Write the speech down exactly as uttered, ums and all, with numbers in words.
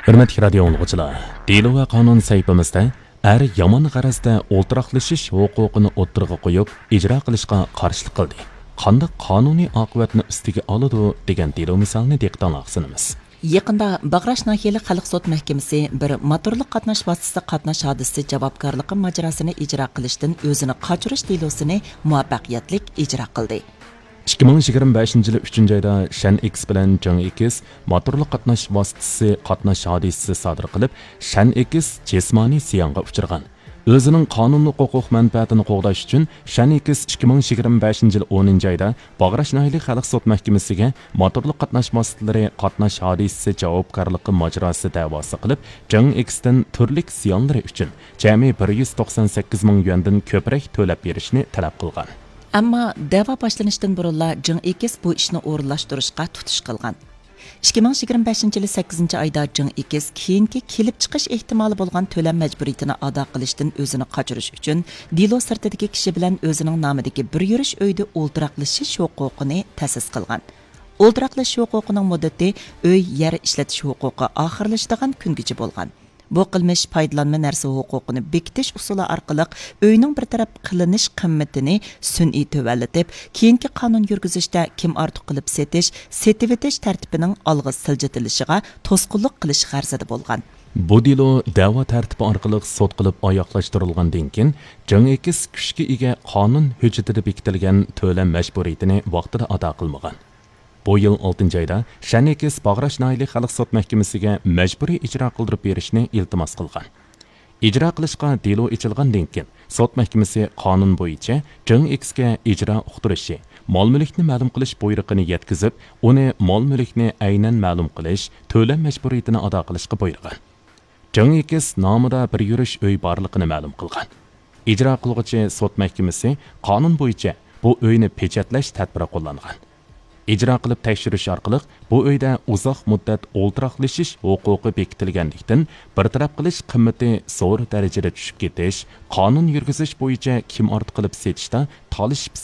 ھۆرمەتلىك رادىيو ئاڭلىغۇچىلار، دېلو ۋە قانۇن سەھىپىمىزدە ئەر يامان غەرەزدە ئولتۇراقلىشىش ھوقۇقىنى ئوتتۇرىغا قويۇپ، ئىجرا قىلىشقا قارشىلىق قىلدى. قانداق قانۇنىي ئاقىۋەتنى ئۈستىگە ئالىدۇ دېگەن دېلو مىسالىنى دىققىتىڭلارغا سۇنىمىز. يېقىندا باغراش ناھىيەلىك خەلق سوت مەھكىمىسى بىر موتورلۇق قاتناش ۋاسىتىسى قاتناش ھادىسىسى جاۋابكارلىقى ماجىراسىنى ئىجرا قىلىشتىن ئۆزىنى قاچۇرۇش دېلوسىنى مۇۋەپپەقىيەتلىك ئىجرا قىلدى. ئىككى مىڭ يىگىرمە بەشىنچى يىلى ئۈچىنچى ئايدا شەن ئېكس بىلەن جېڭ ئېكس موتورلۇق قاتناش ۋاسىتىسى قاتناش ھادىسىسى سادىر قىلىپ، شەن ئېكس جىسمانىي زىيانغا ئۇچرىغان. ئۆزىنىڭ قانۇنلۇق ھوقۇق مەنپەئەتىنى قوغداش ئۈچۈن، شەن ئېكس ئىككى مىڭ يىگىرمە بەشىنچى يىل ئونىنچى ئايدا باغراش ناھىيەلىك خەلق سوت مەھكىمىسىگە موتورلۇق قاتناش ۋاسىتىلىرى قاتناش ھادىسىسى جاۋابكارلىقى ماجىراسى دەۋاسى قىلىپ، جېڭ ئېكستىن تۈرلۈك زىيانلىرى ئۈچۈن جەمئىي بىر يۈز توقسان سەككىز مىڭ يۈەندىن كۆپرەك تۆلەپ بېرىشنى تەلەپ قىلغان. ئەمما دەۋا باشلىنىشتىن بۇرۇنلا جېڭ ئېكس بۇ ئىشنى ئورۇنلاشتۇرۇشقا تۇتۇش قىلغان. ئىككى مىڭ يىگىرمە بەشىنچى يىلى سەككىزىنچى ئايدا جېڭ ئېكس كېيىنكى كېلىپ چىقىش ئېھتىمالى بولغان تۆلەم مەجبۇرىيىتىنى ئادا قىلىشتىن ئۆزىنى قاچۇرۇش ئۈچۈن، دېلو سىرتىدىكى كىشى بىلەن ئۆزىنىڭ نامىدىكى بىر يۈرۈش ئۆيدە ئولتۇراقلىشىش ھوقۇقىنى تەسىس قىلغان. ئولتۇراقلىشىش ھوقۇقىنىڭ مۇددىتى ئۆي، يەر ئىشلىتىش ھوقۇقى ئاخىرلىشىدىغان كۈنگىچە بولغان. بۇ قىلمىش پايدىلانما نەرسە ھوقۇقىنى بېكىتىش ئۇسۇلى ئارقىلىق ئۆينىڭ بىر تەرەپ قىلىنىش قىممىتىنى سۈنئىي تۆۋەنلىتىپ، كېيىنكى قانۇن يۈرگۈزۈشتە كىم ئارتۇق قىلىپ سېتىش، سېتىۋېتىش تەرتىپىنىڭ ئالغا سىلجىتىلىشىغا توسقۇنلۇق قىلىش غەرىزىدە بولغان. بۇ دېلو دەۋا تەرتىپى ئارقىلىق سوت قىلىپ ئاياغلاشتۇرۇلغاندىن كېيىن، جېڭ ئېكس كۈچكە ئىگە قانۇن ھۆججىتىدە بېكىتىلگەن تۆلەم مەجبۇرىيىتىنى ۋاقتىدا ئادا قىلمىغان. بۇ يىل ئالتىنچى ئايدا شەن ئېكس باغراش ناھىيەلىك خەلق سوت مەھكىمىسىگە مەجبۇرىي ئىجرا قىلدۇرۇپ بېرىشنى ئىلتىماس قىلغان. ئىجرا قىلىشقا دېلو ئېچىلغاندىن كېيىن، سوت مەھكىمىسى قانۇن بويىچە جېڭ ئېكسكە ئىجرا ئۇقتۇرۇشى، مال-مۈلۈكنى مەلۇم قىلىش بۇيرۇقىنى يەتكۈزۈپ، ئۇنى مال-مۈلۈكنى ئەينەن مەلۇم قىلىش، تۆلەم مەجبۇرىيىتىنى ئادا قىلىشقا بۇيرۇغان. جېڭ ئېكس نامىدا بىر يۈرۈش ئۆي بارلىقىنى مەلۇم قىلغان. ئىجرا قىلغۇچى سوت مەھكىمىسى قانۇن بويىچە بۇ ئۆينى پېچەتلەش تەدبىرى قوللانغان. ئىجرا قىلىپ تەكشۈرۈش ئارقىلىق بۇ ئۆيدە ئۇزاق مۇددەت ئولتۇراقلىشىش ھوقۇقى بېكىتىلگەنلىكتىن، بىر تەرەپ قىلىش قىممىتى زور دەرىجىدە چۈشۈپ كېتىش، قانۇن يۈرگۈزۈش بويىچە كىم ئارتۇق قىلىپ سېتىشتا تالىشىپ